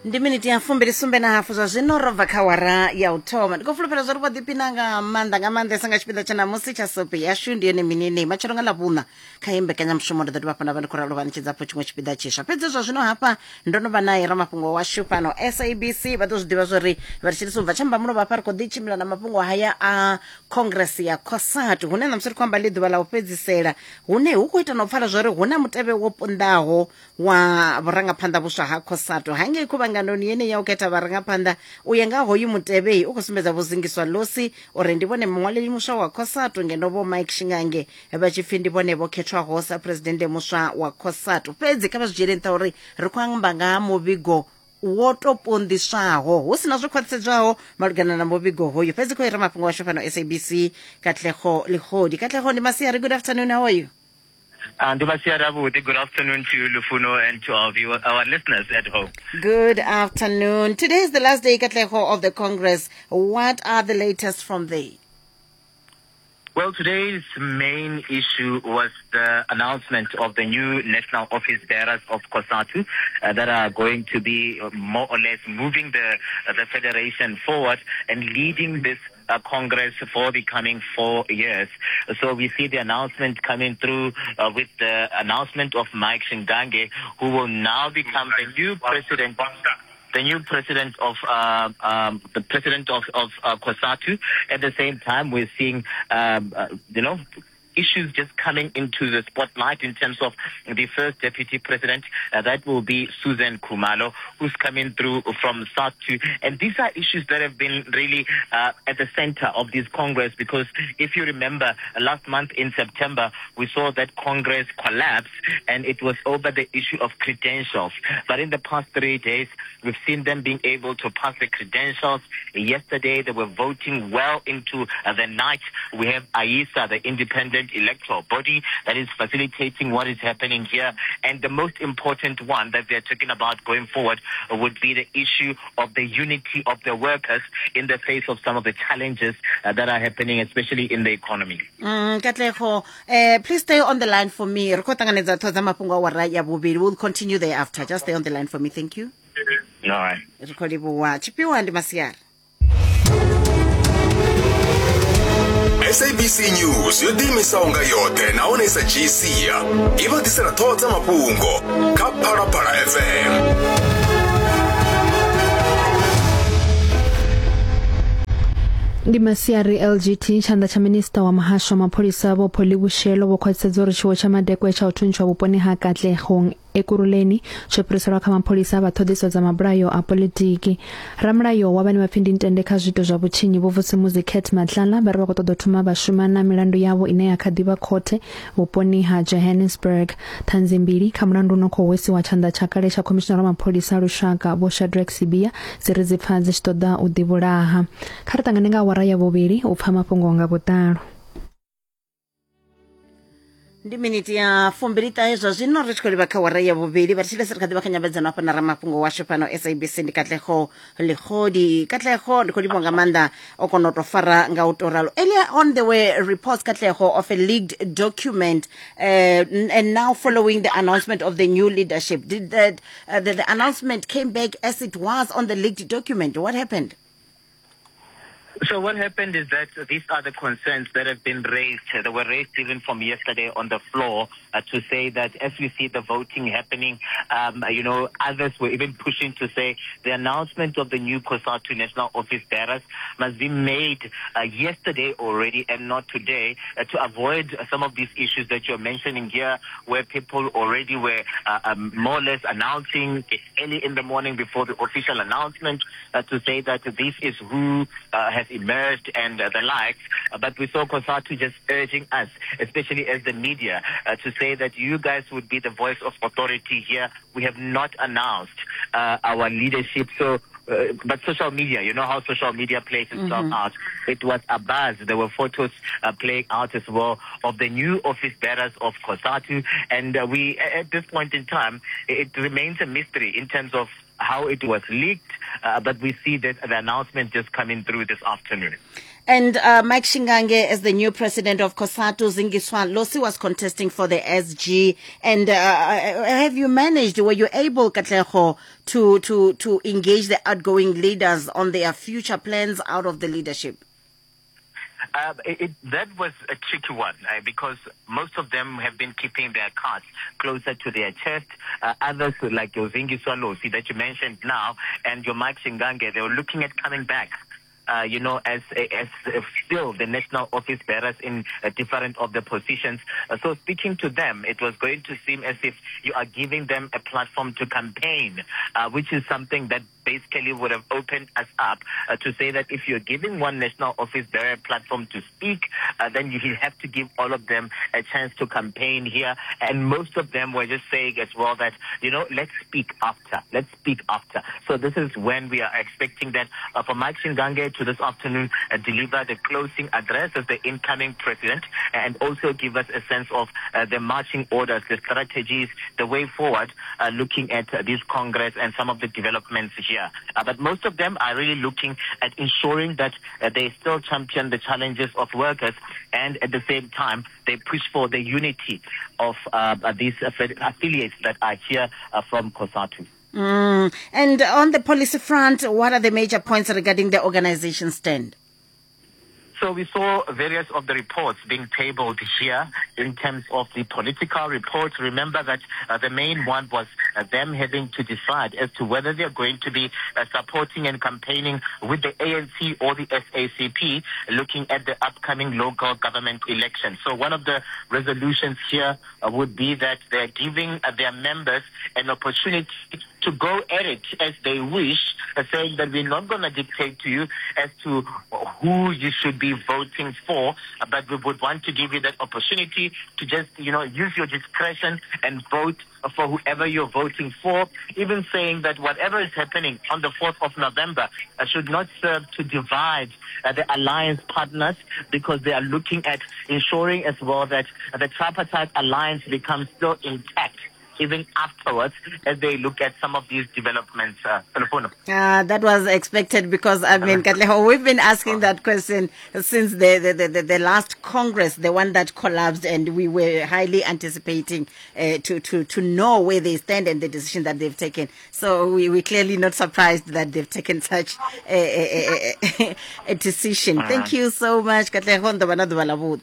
Ndi miniti ya 27 na hafu zwa zwino ro bva kha wara ya u thoma. Ndi khou fulufhela zwa uri vho ḓiphina nga maanḓa nga maanḓesa nga tshipiḓa tsha ṋamusi tsha sope yashu ndi yone mini matshelo nga ḽavhuṋa kha iyi mbekanyamushumo ndi ḓo dovha hafhu nda vha ndi khou ralo vha ṋetshedza hafhu tshiṅwe tshipiḓa tshiswa. Fhedzi zwa zwino hafha ndo no vha nae ramafhungo washu fhano SABC vha ḓo zwi ḓivha zwa uri vha ri tshilisa u bva tsha mbamulovha hafha ri khou ḓi tshimbila na mafhungo haya a Congress ya COSATU hune ṋamusi ri khou amba ḽi ḓuvha ḽa u fhedzisela hune hu khou ita na u pfala zwa uri hu na mutevhe wo punḓaho wa vhurangaphanḓa vhuswa ha COSATU hangei khuvhanganoni yeneyi ya u khetha vharangaphanḓa. U ya nga hoyu mutevhei u khou sumbedza Vho Zingiswa Losi uri ndi vhone muṅwaleli muswa wa COSATU ngeno Vho Mike Shingange vha tshi pfi ndi vhone vho khethwaho sa phuresidennde muswa wa COSATU. Fhedzi kha vha zwi dzhiele nṱha uri ri khou amba nga ha muvhigo wo tou ponḓiswaho hu si na zwo khwaṱhisedzwaho malugana na muvhigo hoyu. Fhedzi khou ira mafhungo ashu fhano SABC Katlego Legodi. Katlego, ndi masiari, good afternoon, how are you? Ndi masiari avhuḓi. Good afternoon to you, Lufuno, and to our viewer, our listeners at home. Good afternoon. Today is the last day, Katlego, of the Congress. What are the latest from there? Well, today's main issue was the announcement of the new national office bearers of COSATU that are going to be more or less moving the federation forward and leading this Congress for the coming 4 years. So we see the announcement coming through with the announcement of Mike Shingange, who will now become the new president. The new president of the president of COSATU. At the same time, we're seeing, issues just coming into the spotlight in terms of the first deputy president. That will be Susan Khumalo, who's coming through from SADTU. And these are issues that have been really at the center of this Congress, because if you remember, last month in September, we saw that Congress collapse, and it was over the issue of credentials. But in the past 3 days, we've seen them being able to pass the credentials. Yesterday, they were voting well into the night. We have AISA, the independent electoral body, that is facilitating what is happening here. And the most important one that they're talking about going forward would be the issue of the unity of the workers in the face of some of the challenges that are happening, especially in the economy. Katlego, please stay on the line for me. Ri khou ṱanganedza ṱhoho dza mafhungo a awara ya vhuvhili. We'll continue thereafter. Just stay on the line for me. Thank you. All right. Ri khou livhuwa. Tshifhiwa ndi masiari. SABC News yo ḓiimisaho nga yoṱhe nahone i sa dzhii sia i vha ḓisela ṱhoho dza mafhungo kha Phalaphala FM. Ndi masiari LGT tshanḓa tsha minista wa muhasho wa mapholisa Vho Polly Boshielo vho khwaṱhisedza uri tshiwo tsha madekwe tsha u thuntshwa vhuponi ha Katlehong Ekurhuleni tsho fhiriselwa kha mapholisa vha ṱhoḓiso dza mabulayo a politiki. Ramulayo wa vhane vha pfi ndi ntende kha zwiito zwa vhutshinyi Vho Vusimuzi Cat Matlala vha ri vha khou ṱoḓa u thoma vha shuma na milandu yavho ine ya kha ḓi vha khothe vhuponi ha Johannesburg. Ṱhanzi mbili kha mulandu u no khou hwesiwa tshanḓa tsha kale tsha khomishinara wa mapholisa a lushaka Vho Shadrack Sibiya dzi ri dzi pfa dzi tshi ṱoḓa u ḓivhulaha. Kha ri ṱangane nga awara ya vhuvhili u pfa mafhungo nga vhuḓalo. Ndi miniti ya 29 zwa zwino ri tshi khou livha kha wara ya vhuvhili. Vha thetshelesa ri kha ḓivha kha nyambedzano hafha na ramafhungo washu fhano SABC ndi Katlego Legodi. Katlego, ndi khou livhuwa nga maanḓa o kona u tou fara nga u tou ralo. Earlier on there were reports, Katlego, of a leaked document, and now following the announcement of the new leadership, did that, the announcement came back as it was on the leaked document? What happened? So what happened is that these are the concerns that have been raised. They were raised even from yesterday on the floor to say that as we see the voting happening, others were even pushing to say the announcement of the new COSATU National Office bearers must be made yesterday already and not today, to avoid some of these issues that you're mentioning here, where people already were more or less announcing early in the morning before the official announcement to say that this is who has emerged and the likes. But we saw COSATU just urging us, especially as the media, to say that you guys would be the voice of authority here. We have not announced our leadership. So, but social media, you know how social media plays itself out. It was a buzz. There were photos playing out as well of the new office bearers of COSATU. And we, at this point in time, it remains a mystery in terms of how it was leaked, but we see that the announcement just coming through this afternoon. And Mike Shingange, as the new president of COSATU, Zingiswa Losi was contesting for the SG. And have you managed, were you able, Katlego, to engage the outgoing leaders on their future plans out of the leadership? That was a tricky one because most of them have been keeping their cards closer to their chest. Others, like your Zingiswa Losi that you mentioned now and your Mike Shingange, they were looking at coming back. As still the national office bearers in different of the positions. So speaking to them, it was going to seem as if you are giving them a platform to campaign, which is something that basically would have opened us up to say that if you're giving one national office bearer platform to speak, then you have to give all of them a chance to campaign here. And most of them were just saying as well that, let's speak after. Let's speak after. So this is when we are expecting that for Mike Shingange to this afternoon deliver the closing address as the incoming president and also give us a sense of the marching orders, the strategies, the way forward, looking at this Congress and some of the developments here. But most of them are really looking at ensuring that they still champion the challenges of workers, and at the same time, they push for the unity of these affiliates that are here from COSATU. And on the policy front, what are the major points regarding the organization's stand? So we saw various of the reports being tabled here in terms of the political reports. Remember that the main one was them having to decide as to whether they're going to be supporting and campaigning with the ANC or the SACP, looking at the upcoming local government election. So one of the resolutions here would be that they're giving their members an opportunity to go at it as they wish, saying that we're not going to dictate to you as to who you should be voting for, but we would want to give you that opportunity to just, use your discretion and vote for whoever you're voting for, even saying that whatever is happening on the 4th of November should not serve to divide the alliance partners, because they are looking at ensuring as well that the tripartite alliance becomes still intact even afterwards, as they look at some of these developments. That was expected because, I mean, Katlego, we've been asking that question since the last Congress, the one that collapsed, and we were highly anticipating to know where they stand and the decision that they've taken. So we're clearly not surprised that they've taken such a decision. Thank you so much, Katlego.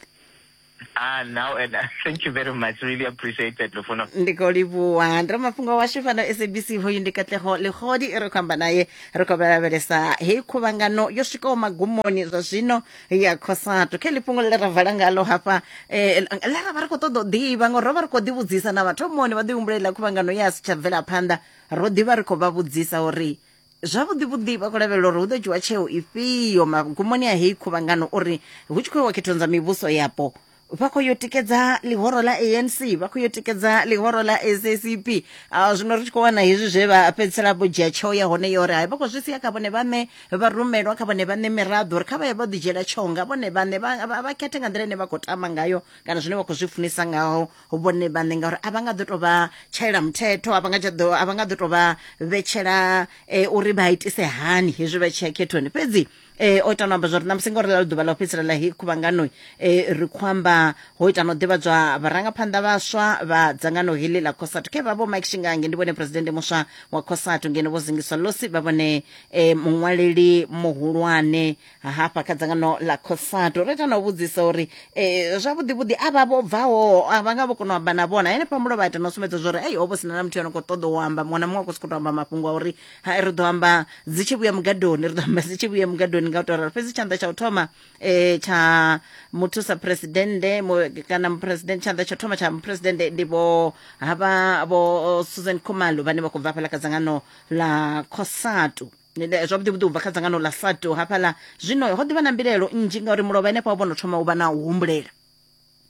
Now, and thank you very much. Really appreciate it, Lufuno. Ndi khou livhuwa. Ndi mafhungo washu fhano SABC, hoyu ndi Katlego Legodi, ri khou amba naye, ri khou lavhelesa heyi khuvhangano yo swikaho magumoni zwa zwino ya COSATU. Kha heḽi fhungo ḽe ra vala ngalo hafha, ḽe ra vha ri khou ṱoḓa u ḓivha, ngori ro vha ri khou ḓivhudzisa na vhathomoni vha ḓi humbulela khuvhangano ya si tsha bvela phanḓa, ro ḓivha ri khou vha vhudzisa uri zwavhuḓi vhuḓi vha khou lavhelela uri hu ḓo dzhiwa tsheo ifhio magumoni a heyi khuvhangano, uri hu tshi khou iwa khethoni dza mivhuso yapo vha khou yo tikedza ḽihoro ḽa ANC, vha khou yo tikedza ḽihoro ḽa SACP. Zwino ri tshi khou wana hezwi zwe vha fhedzisela vho dzhia tsheo ya hone ya uri hai, vha khou zwi sia kha vhone vhaṋe vha rumelwa, kha vhone vhaṋe miraḓo, uri kha vha ye vha ḓi dzhiela tsheo nga vhone vhaṋe, vha khethe nga nḓila ine vha khou tama ngayo kana zwine vha khou zwi funisa ngaho vhone vhaṋe, ngauri a vha nga ḓo tou vha tshaela muthetho, a vha nga ḓo a vha nga ḓo tou vha vhetshela uri vha itise hani hezwi vha tshi ya khethoni. Fhedzi o ita no amba zwa uri ṋamusi ngauri ḽa ḓuvha ḽa u fhedzisela ḽa heyi khuvhangano, ri khou amba ho ita no ḓivhadzwa vharangaphanḓa vhaswa vha dzangano heḽi ḽa COSATU. Khe vha vho Mike Shingange ndi vhone presidennde muswa wa COSATU, ngeno vho Zingiswa Losi vha vhone muṅwaleli muhulwane hafha kha dzangano ḽa COSATU. Ro ita na u vhudzisa uri zwavhuḓi vhuḓi a vha vho bvaho a vha nga vho kona u amba na vhona henefha mulovha, ita no sumbedza zwa uri ei ho vho sina na muthu ano khou ṱoḓa u amba, muṅwe na muṅwe a khou sokou tou amba mafhungo a uri ha ri ḓo amba dzi tshi vhuya mugadoni, ri ḓo amba dzi tshi vhuya mugadoni nga u tou ralo. Fhedzi tshanḓa tsha u thoma tsha muthusa presidennde kana muphuresidennde, tshanḓa tsha u thoma tsha muphuresidennde ndi vho havha vho Susan Khumalo vhane vha khou bva hafhaḽa kha dzangano ḽa COSATU, zwavhuḓi vhuḓi u bva kha dzangano ḽa SATU hafhaḽa. Zwino ho ḓivha na mbilaelo nnzhi ngauri mulovha henefha ho vho no thoma u vha na u humbulela.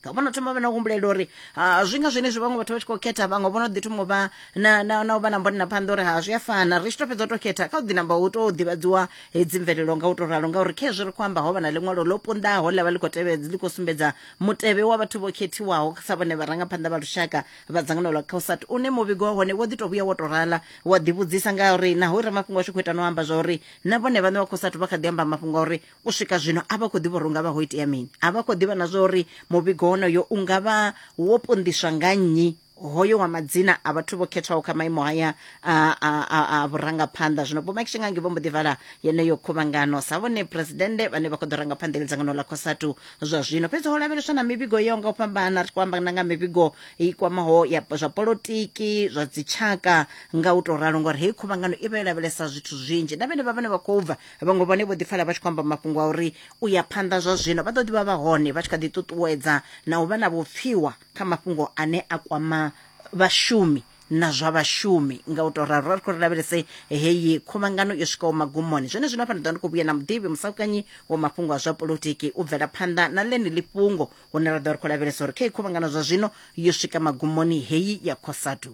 Nga vhono thoma vha na humbulela uri ha zwi nga zwenezwi vhaṅwe vhathu vha tshi khou khetha, vhaṅwe vho no ḓi thoma u vha na na na u vha na mbonela phanḓa uri ha zwi a fana, ri tshi to fhedza u to khetha kha u ḓi namba u to ḓivhadziwa hedzi mvelelo nga u to ralo. Ngauri khezwi ri khou amba ho vha na ḽiṅwalo ḽo punḓaho ḽa vha ḽi khou tevhedza, ḽi khou sumbedza mutevhe wa vhathu vho khethiwaho sa vhone vharangaphanḓa vha lushaka vha dzangano ḽa Cosat, une muvhigo wa hone wo ḓi to vhuya wo to rala wa ḓivhudzisa ngauri naho ramafhungo ashu khou ita no amba zwa uri na vhone vhaṋe vha Cosat vha kha ḓi amba mafhungo a uri u swika zwino a vha khou ḓivha uri hu nga vha ho itea mini, a vha khou ḓivha na zwa uri muvhigo wonoyo u nga vha wo punḓiswa nga nnyi, hoyo wa madzina a vhathu vho khethwaho kha maimo haya a, a, a, a vhurangaphanḓa. Zwino Vho Mike Shingangi vho mbo ḓi vala yeneyo khuvhangano sa vhone phuresidennde vhane vha khou ḓo ranga phanḓa dzangano ḽa Cosatu zwa zwino. Fhedzi ho lavheleswa na mivhigo yo nga u fhambana, ri tshi khou amba na nga mivhigo i kwamaho ya zwa polotiki, zwa dzitshaka nga u tou ralo, ngori heyi khuvhangano i vha yo lavhelesa zwithu zwinzhi. Na vhenevha vhane vha khou bva, vhaṅwe vhone vho ḓi pfala vha tshi khou amba mafhungo a uri u ya phanḓa zwa zwino vha ḓo ḓi vha vha hone vha tshi kha ḓi ṱuṱuwedza na u vha na vhupfiwa kha mafhungo ane a kwama vhashumi na zwa vhashumi. Nga u tou ralo ri khou ri lavhelese heyi khuvhangano yo swikaho magumoni. Zwene zwino hafha ndi ḓo ndi khou vhuya na muḓivhi musaukanyi wa mafhungo a zwa polotiki u bvela phanḓa na ḽeneḽi fhungo, hune ra ḓo ri khou lavhelesa uri kha iyi khuvhangano zwa zwino yo swika magumoni heyi ya Cosatu.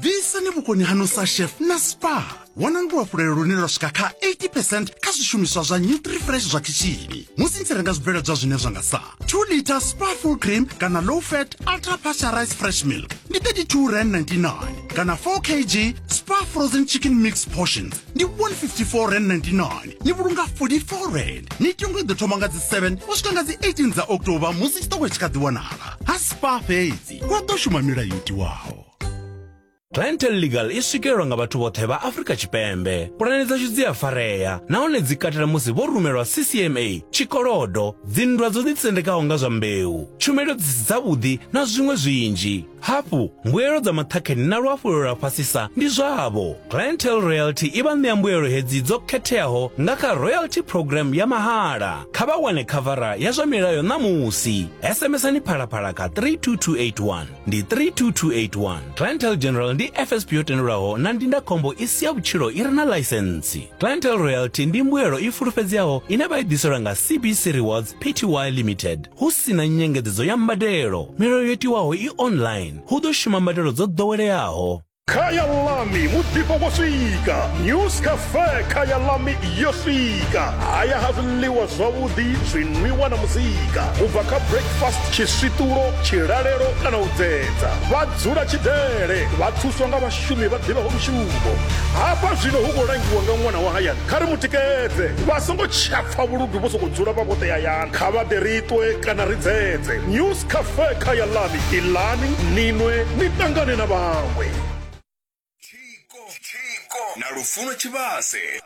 Ḓisani vhukoni haṋu sa chef na spa. Wanani luhafhulelo lune lwa swika kha 80 percent kha zwishumiswa zwa Nutrifresh zwa khishini musi ni tshi renga zwibveledzwa zwine zwa nga sa 2 liter spa full cream kana low fat ultra pasteurized fresh milk ndi 32 rand 99 kana 4 kg spa frozen chicken mix portions ndi 154 rand 99. Ni vhulunga 44 rand. Mitengo i ḓo thoma nga dzi 7 u swika nga dzi 18 dza October musi tshiṱoko tshi kha ḓi wanala ha spa fhedzi. Hu a ḓo shuma milayo yo tiwaho. Clientele Legal i swikelelwa nga vhathu vhoṱhe vha Afrika Tshipembe. Pulane dzashu dzi a farea nahone dzi katela musi vho rumelwa CCMA, tshikolodo, dzinndwa dzo ḓisendekaho nga zwa mbeu, tshumelo dzi si dzavhuḓi na zwiṅwe zwinzhi. Hafhu, mbuelo dza maṱhakheni na luhafhulelo lwa fhasisa ndi zwavho. Clientele Royalty i vha ṋea mbuelo hedzi dzo khetheaho nga kha Royalty Programme ya mahala. Kha vha wane khavara ya zwa milayo ṋamusi. SMSani Phalaphala kha 32281. Ndi 32281. Clientele General ndi FSP yo tendelwaho na ndindakhombo i si ya vhutshilo i re na ḽaisentsi. Clientele Royalty ndi mbuelo i fulufhedzeaho ine vha i ḓiselwa nga CBC Rewards Pty Limited hu si na nyengedzedzo ya mbadelo. Milayo yo tiwaho i online. Hu ḓo shuma mbadelo dzo ḓoweleaho. Khaya Lami muḓifho wo swika. News Cafe Khaya Lami yo swika. Haya ha zwiḽiwa zwavhuḓi, zwinwiwa na muzika. U bva kha breakfast, tshiswiṱulo, tshilalelo kana u dzedza. Vha dzula tshidele, vha thuswa nga vhashumi vha ḓivhaho mushumo. Hafha zwino hu khou langiwa nga ṅwana wa hayani. Kha ri mu tikedze. Vha songo tsha pfa vhuludu vho sokou dzula vha vhoṱhe hayani. Kha vha ḓe ri ṱwe kana ri dzedze. News Cafe Khaya Lami, iḽani, ni nwe, ni ṱangane na vhaṅwe. Tshiko na Lufuno Tshivhase.